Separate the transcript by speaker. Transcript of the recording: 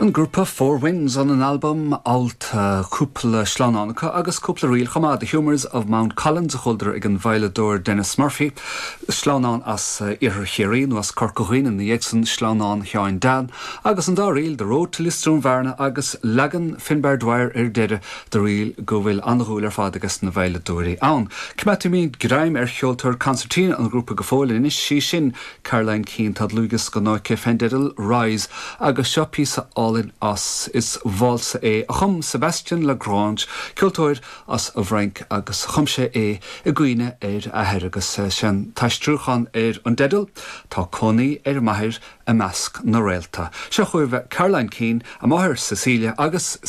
Speaker 1: An grúpa Four Winds óna n-albam Alt, cúpla sleamhnán acu agus cúpla ríl chomh maith, The Humours of Mount Collins a chualadar ag an veidhleadóir Denis Murphy, sleamhnán as Iarthar Chiarraí nó as Corca Dhuibhne ina dhiaidh san, sleamhnán Sheáin Dan, agus an dá ríl, The Road to Lisdoonvarna agus leagan Finbar Dwyer ar deireadh de ríl go bhfuil an-dhúil ar fad ages na veidhleadóirí ann. Coimeádfaimid greim ar cheoltóir concertina an ghrúpa go fóill anois, sí sin Caroline Keane, tá dlúthdhiosca nua aici fén dteideal Rise agus seo píosa álainn as. Is válsa é a chum Sebastien Lagrange, ceoltóir as an bhFrainc agus chum sé é i gcuimhne ar a athair agus sé an t-aistriúchán ar an dteideal, Tá cónaí ar m'athair i measc na réalta. Seo chugaibh Caroline Keane, a máthair Cecilia agus.